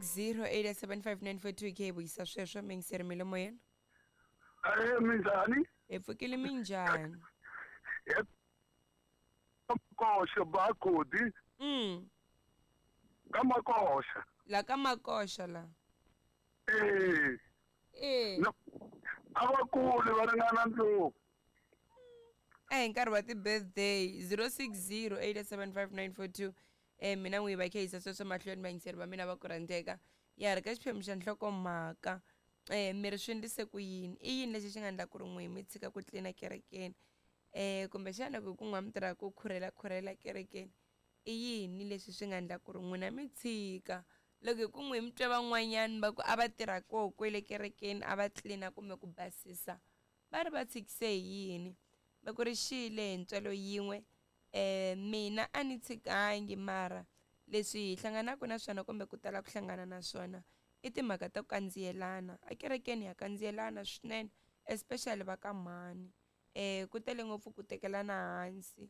060 875 k vuyisa sweswo mingiseri mi le moyeni. Eh, minjhani? Hi pfukile, minjhani? Makoxa bakodi. Ka Makoxa. La ka Makoxa la. Eh. Eh. No, a va kuli va ringana ndlopfu. A hi nkarhi wa ti-birthday. 060 875 mina n'wi va khe yisa sweswo mahlweni, vayingiseri va mina va ku rhandzeka. Ya ha ri ka xiphemu xa nhlokomhaka. Mi ri swi endlise ku yini? I yini lexi xi nga endla ku ri n'wi mi tshika ku tlina kerekeni? Kumbexana ku ku n'wa mi tirha ku khurhela khurhela kerekeni, i yini leswi swi nga endla ku ri n'wina mi tshika? Loko hi ku n'wi mi twa van'wanyani va ku a va tirha koho kwele kerekeni, a va tlina kumbe ku basisa, va ri va tshikise hi yini? Va ku ri xile hi ntswalo yin'we. Mina a ni tshikangi, mara leswi hi hlanganaka na swona kumbe ku tala ku hlangana na swona i timhaka ta ku kandziyelana. A kerekeni ya kandziyelana swinene, especially va ka mhani. Ku tele ngopfu ku tekelana hansi.